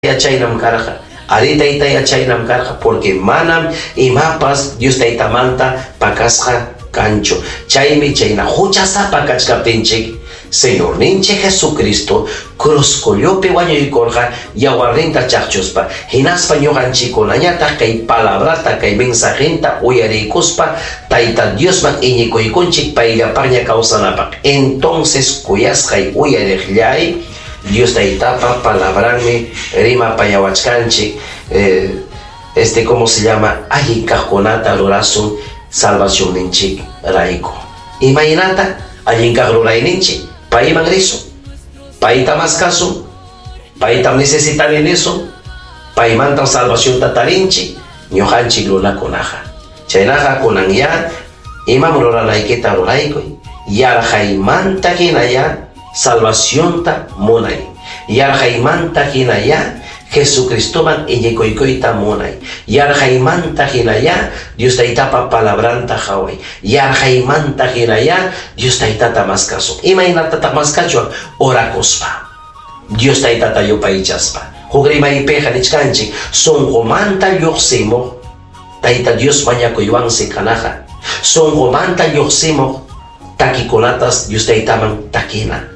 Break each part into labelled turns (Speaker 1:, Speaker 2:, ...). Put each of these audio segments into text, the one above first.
Speaker 1: Chaynam karqa. Arí, taytay, chaynam karqa, porque manam imapas Dios Taytamanta pakasqa kanchu. Chaymi chayna huchasapa kachkaptinchik, Señorninchik Jesucristo cruzkullupi wañuykurqa yawarninta chaqchuspa, hinaspa ñuqanchikkunañataq kay palabrata, kay mensajenta uyariykuspa Tayta Diosman iñikuykunchik payllapaqña kawsanapaq. Entonces, kuyasqay uyariqllay, Dios Taytapa palabranmi rimapayawachkanchik, este, ¿cómo se llama? Allin kaqkunata rurasun salvacionninchik rayku. Imaynata allin kaq rurayninchik? Payman risun, payta maskasun, paytam necesitani nisun, paymantam salvacionta tarinchik ñuqanchik runakunaqa. Chaynaqa kunanyá imam ruranaykita ruraykuy, yarqaymanta hinayá salvacionta munay, yarqaymanta hinayá Jesucristoman iñikuykuyta munay, yarqaymanta hinayá Dios Taytapa palabranta qaway, yarqaymanta hinayá Dios Taytata maskasun. Imaynatataq maskachwan? Orakuspa, Dios Taytata yupaychaspa. Huk rimaypiqa nichkanchik, sunqumanta lluqsimuq Tayta Dios mañakuywansi kanaqa, sunqumanta lluqsimuq takikunatas Dios Taytaman takina.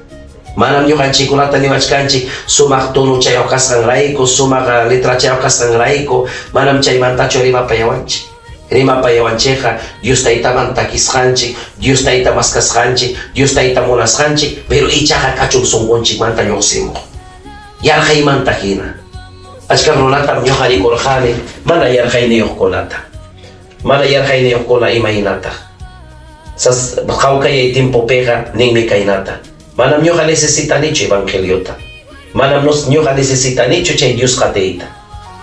Speaker 1: Manam ñuqanchikkunata niwachkanchik sumaq tonochayuq kasqanrayku, sumaq letrachayuq kasqanrayku, manam chaymantachu rimapayawanchik. Rimapayawanchikqa Dios Taytaman takisqanchik, Dios Tayta maskasqanchik, Dios Tayta munasqanchik, pero ichaqa kachun sunqunchikmanta lluqsimuq. Yarqaymanta hina. Achka runatam ñuqa rikurqani mana yarqayniyuqkunata. Mana yarqayniyuqkuna imaynataq. Sas hawkayay tiempopiqa ninmi kaynata. Manam ñuqa necesitanichu evangeliota. Manam ñuqa necesitanichu chay Dios qatiyta.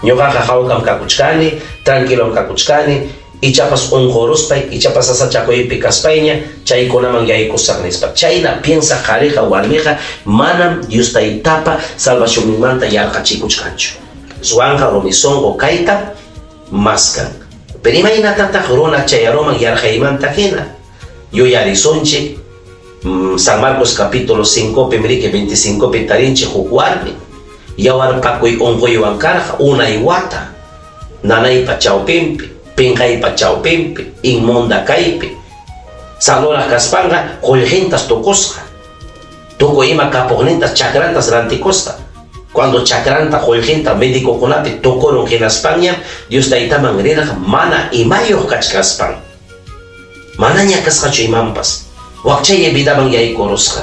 Speaker 1: Ñuqaqa hawkam kakuchkani, tranquilom kakuchkani, ichapas unquruspay, ichapas sasachakuypi kaspayña chaykunaman yaykusaq nispa. Chayna piensaq qhariqa warmiqa manam Dios Taytapa salvacionninmanta yarqachikuchkanchu. Ruwanqa rumi sunqu kayta maskan. Pero imaynatataq runa chayaruman yarqaymanta hina? Yuyarisunchik, San Marcos capítulo 5 pi riki 25 pi tarinchik huk warmi yawarpakuy unquywan karqa unay wata nanaypa chawpinpi, pinqaypa chawpinpi, inmunda kaypi. Sanuraq kaspanqa qullqintas tukusqa. Tukuy ima kapuqnintas chakrantas rantikusqa. Cuando chakranta qullqinta médicokunapi tukurun hinaspanñam Dios Taytaman rirqa mana imayuq kachkaspan. Manaña kasqachu imanpas. Wakchaya vidaman yaykurusqa.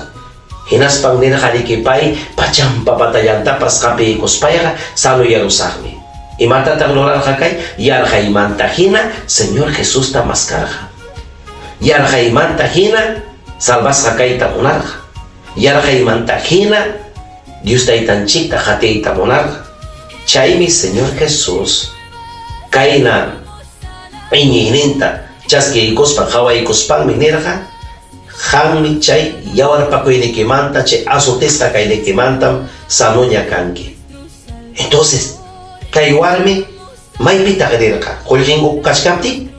Speaker 1: Hinaspan nirqa riki pay pachampa patallantapas qapiykuspayqa sanuyarusaqmi. Imatataq rurarqa kay? Yarqaymanta hina Señor Jesusta maskarqa. Yarqaymanta hina salvasqa kayta munarqa. Yarqaymanta hina Dios Taytanchikta qatiyta munarqa. Chaymi Señor Jesús kayna iñiyninta chaskiykuspa qawaykuspanmi nirqa, qammi chay yawarpakuynikimanta, chay azotisqa kaynikimantam sanuña kanki. Entonces, kay warmi maypitaq rirqa? Qullqinku kachkaptin?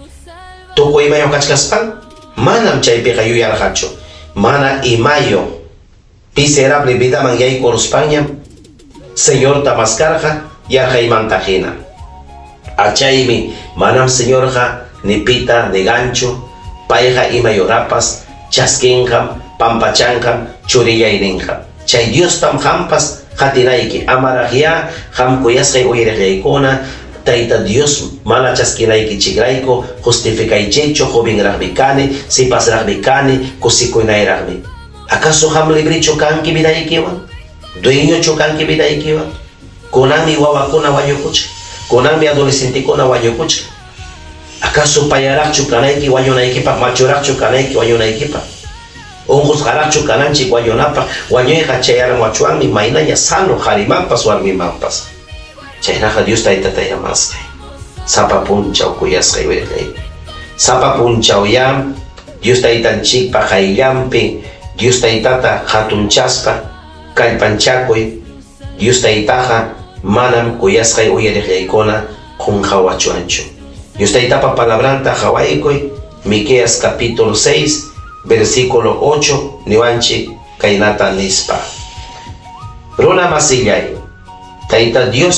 Speaker 1: Tukuy imayuq kachkaspan? Manam chaypiqa yuyarqachu. Mana imayuq miserable vidaman yaykuruspanñam Señorta maskarqa yarqaymanta hina. Achaymi manam Señorqa ni pita ni ganchu, payqa imayurapas chaskinqam, pampachanqam, churillay ninqam. Chay Diostam qampas qatinayki, amaraqyá qam kuyasqay uyariqllaykuna, Tayta Dios mana chaskinaykichikrayku justificaychikchu, jovenraqmi kani, sipasraqmi kani, kusikunayraqmi. ¿Acaso qam librechu kanki vidaykiwan? Dueñochu kanki vidaykiwan? Kunanmi wawakuna wañukuchkan, kunanmi adolescentekuna wañukuchkan. ¿Acaso payaraqchu kanayki wañunaykipaq, machuraqchu kanayki wañunaykipaq? Unqusqaraqchu kananchik wañunapaq, wañuyqa chayaramuwachwanmi maynaña sano qharimanpas warmimanpas. Chaynaqa Dios Taytata llamasqay, sapa punchaw kuyasqay wirillay. Sapa punchawyá Dios Taytanchikpa qayllanpi Dios Taytata hatunchaspa kallpanchakuy. Dios Taytaqa manam kuyasqay uyariqllaykuna qunqawachuanchu. Dios Taytapa palabranta qawaykuy, Miqueas capítulo 6, versículo 8, niwanchik kaynata nispa. Runa masillay, Tayta Dios.